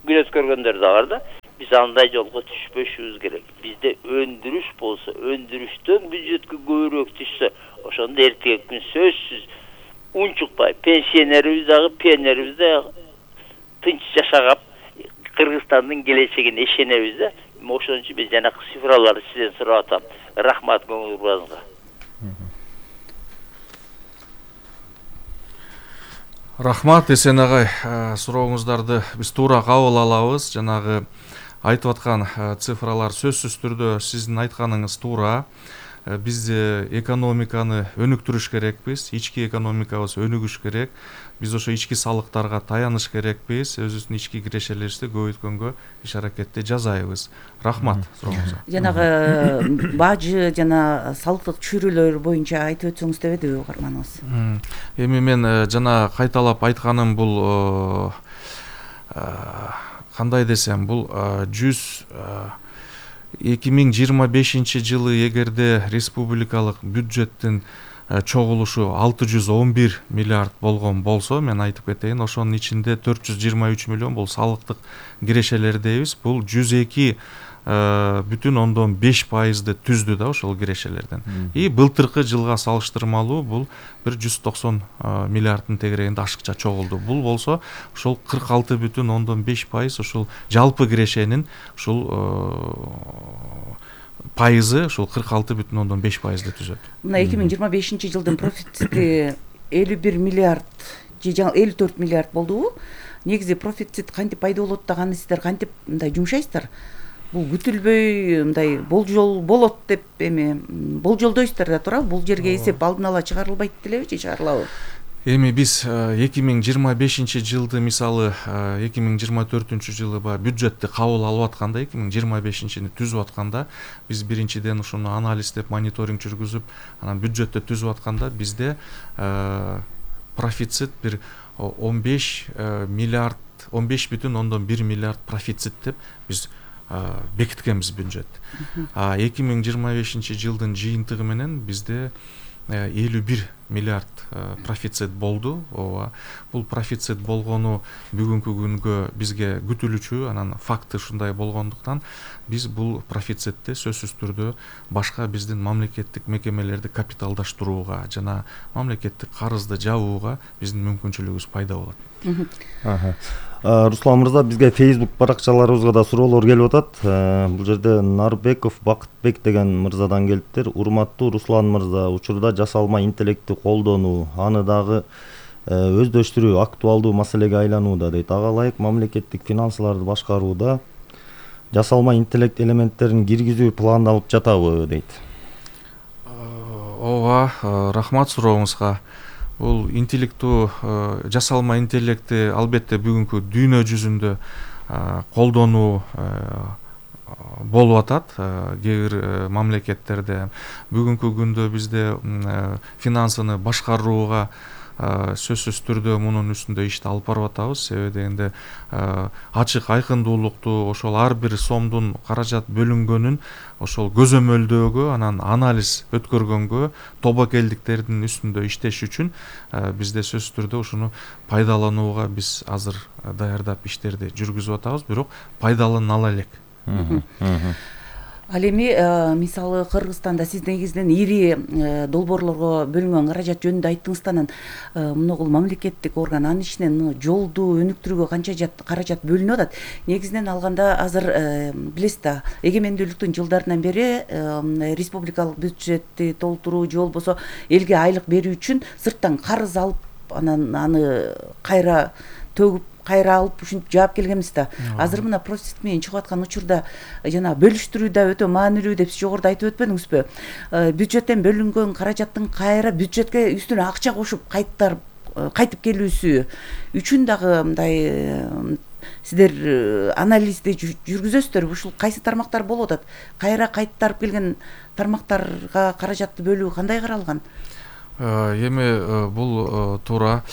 күн өткөргөндөр да бар да. Биз андай жолго түшпөшүбүз керек. Бизде өндүрүш болсо, өндүрүштөн бюджетке көбүрөөк түшсө, ошондо эртеги күн сөзсүз унчукпай, пенсионерибиз дагы, пионерибиз да тынч жашагап, Кыргызстандын келечегине ишенебиз да. Ошон үчүн биз жанакы цифраларды сизден сурап атам. Рахмат көңүл бурганыңызга. Рахмат Эсен агай, сурооңуздарды биз туура кабыл алабыз. Жанагы айтып аткан цифралар сөзсүз түрдө сиздин айтканыңыз туура. Биз экономиканы өнүктүрүш керекпиз, ички экономикабыз өнүгүш керек. Биз ошо ички салыктарга таяныш керекпиз, өзүбүздүн ички кирешелерибизди көбөйткөнгө иш аракетти жасайбыз. Рахмат сурооңузга. Жанагы бажы жана салыктык чөйрөлөр боюнча айтып өтсөңүз деп эди угарманыбыз. Эми мен жана кайталап айтканым бул кандай десем, бул жүз эки миң жыйырма бешинчи жылы эгерде республикалык бюджеттин чогулушу алты жүз он бир миллиард болгон болсо, мен айтып кетейин, ошонун ичинде төрт жүз жыйырма үч миллион бул салыктык кирешелер дейбиз. Бул жүз эки бүтүн ондон беш пайызды түздү да ошол кирешелерден. И былтыркы жылга салыштырмалуу бул бир жүз токсон миллиарддын тегерегинде ашыкча чогулду. Бул болсо ошол кырк алты бүтүн ондон беш пайыз ушул жалпы кирешенин ушул пайызы ушул кырк алты бүтүн ондон беш пайызды түзөт. Мына эки миң жыйырма бешинчи жылдын профицити элүү бир миллиард же элүү төрт миллиард болдубу? Негизи профицит кантип пайда болот даганы сиздер кантип мындай жумшайсыздар? Бул күтүлбөй мындай болжол болот деп эми болжолдойсуздар да туурабы? Бул жерге эсеп алдын ала чыгарылбайт делеби же чыгарылабы? Эми биз эки миң жыйырма бешинчи жылды мисалы эки миң жыйырма төртүнчү жылы баягы бюджетти кабыл алып атканда, эки миң жыйырма бешинчини түзүп атканда, биз биринчиден ушуну анализдеп, мониторинг жүргүзүп, анан бюджетти түзүп атканда бизде профицит бир он беш миллиард, он беш бүтүн ондон бир миллиард профицит деп биз бекиткенбиз бюджет. А эки миң жыйырма бешинчи жылдын жыйынтыгы менен бизде элүү бир миллиард профицит болду. Ооба, бул профицит болгону бүгүнкү күнгө бизге күтүлүүчү, анан факты ушундай болгондуктан биз бул профицитти сөзсүз түрдө башка биздин мамлекеттик мекемелерди капиталдаштырууга жана мамлекеттик карызды жабууга биздин мүмкүнчүлүгүбүз пайда болот. Руслан мырза, бизге Facebook баракчаларыбызга да суроолор келип атат. Бул жерде Нарбеков Бакытбек деген мырзадан келиптир. Урматтуу Руслан мырза, учурда жасалма интеллектти колдонуу, аны дагы өздөштүрүү актуалдуу маселеге айланууда дейт. Ага ылайык мамлекеттик финансыларды башкарууда жасалма интеллект элементтерин киргизүү пландалып жатабы дейт. Ооба, рахмат сурооңузга. Бул интеллекту жасалма интеллекти албетте бүгүнкү дүйнө жүзүндө колдонуу болуп атат. Кээ бир мамлекеттерде бүгүнкү күндө бизде финансыны башкарууга сөзсүз түрдө мунун үстүндө ишти алып барып атабыз. Себеби дегенде ачык айкындуулукту, ошол ар бир сомдун каражат бөлүнгөнүн ошол көзөмөлдөөгө, анан анализ өткөргөнгө, тобокелдиктердин үстүндө иштеш үчүн бизде сөзсүз түрдө ушуну пайдаланууга биз азыр даярдап иштерди жүргүзүп атабыз, бирок пайдалана ала элек. Ал эми мисалы Кыргызстанда сиз негизинен ири долбоорлорго бөлүнгөн каражат жөнүндө айттыңыз да, анан мунугул мамлекеттик орган анын ичинен жолду өнүктүрүүгө канча каражат бөлүнүп атат. Негизинен алганда азыр билесиз да, эгемендүүлүктүн жылдарынан бери республикалык бюджетти толтуруу же болбосо элге айлык берүү үчүн сырттан карыз алып, анан аны кайра төгүп кайра алып ушинтип жаап келгенбиз да. Азыр мына профицит менен чыгып аткан учурда жана бөлүштүрүү да өтө маанилүү деп сиз жогоруда айтып өтпөдүңүзбү? Бюджеттен бөлүнгөн каражаттын кайра бюджетке үстүнө акча кошуп кайтар кайтып келүүсү үчүн дагы мындай сиздер анализди жүргүзөсүздөр. Ушул кайсы тармактар болуп атат? Кайра кайтарып келген тармактарга каражатты бөлүү кандай каралган? Эми бул туура.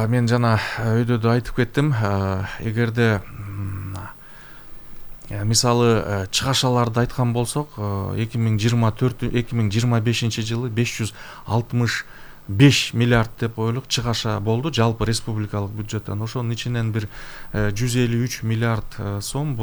Мен жана өйдөдө айтып кеттим, эгерде мисалы чыгашаларды айткан болсок, эки миң жыйырма төрт эки миң жыйырма бешинчи жылы беш жүз алтымыш беш миллиард деп ойлук чыгаша болду жалпы республикалык бюджеттен. Ошонун ичинен бир жүз элүү үч миллиард сом